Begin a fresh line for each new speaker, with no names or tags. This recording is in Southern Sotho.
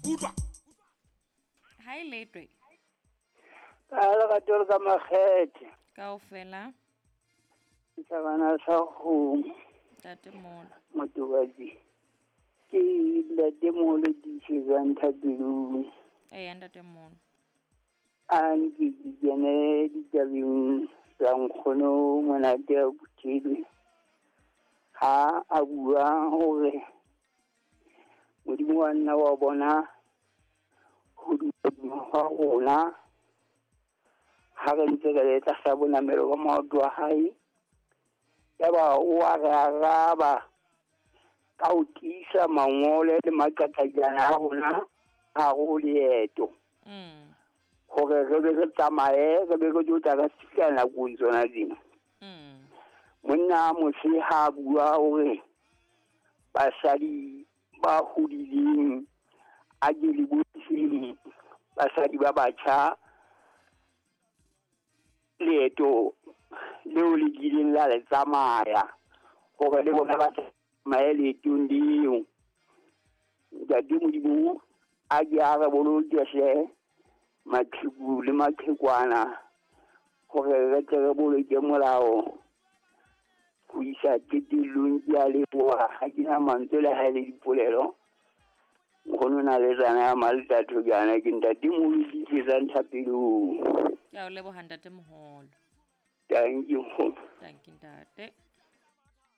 Utlwa.
Ha e letwe.
Ka lerato le ka makgethe.
Kaofela.
Setjhabana sa kgomo.
Ntate Molo.
Motobatsi. Ke Ntate Molo tiisetsang thapelong.
Eya Ntate Molo.
A nke ke kene ditabeng tsa nkgono Monate a Phuthilwe. Ha a bua hore Modimo wa nna wa bona ho duma hwa rona ha re ntse re le tlasa bonamelo ba maoto a hae. Yaba o a re araba ka ho tiisa mangole le maqaqailana a rona hare ho leeto. Hore re be re tsamaye, re be re tlo tla re fihla nakong tsona tsena. Monna a mose ha a bua hore basadi ba hodileng a ke le bontsheng basadi ba batjha leeto leo le kileng la le tsamaya hore le bona ba tsamaye leetong leo. Ntate Modimo a ke a re boloke hle maqheku le maqhekwana hore re tle re boloke molao ho isa qetellong. Ke a leboha, ha ke na mantswe le ha e le dipolelo. Nkgono na le tsana ya Maltatho jaana ke Ntate Moholo tiisetsang thapelong.
Ke a o leboha Ntate Moholo.
Thank you.
Thank you Ntate.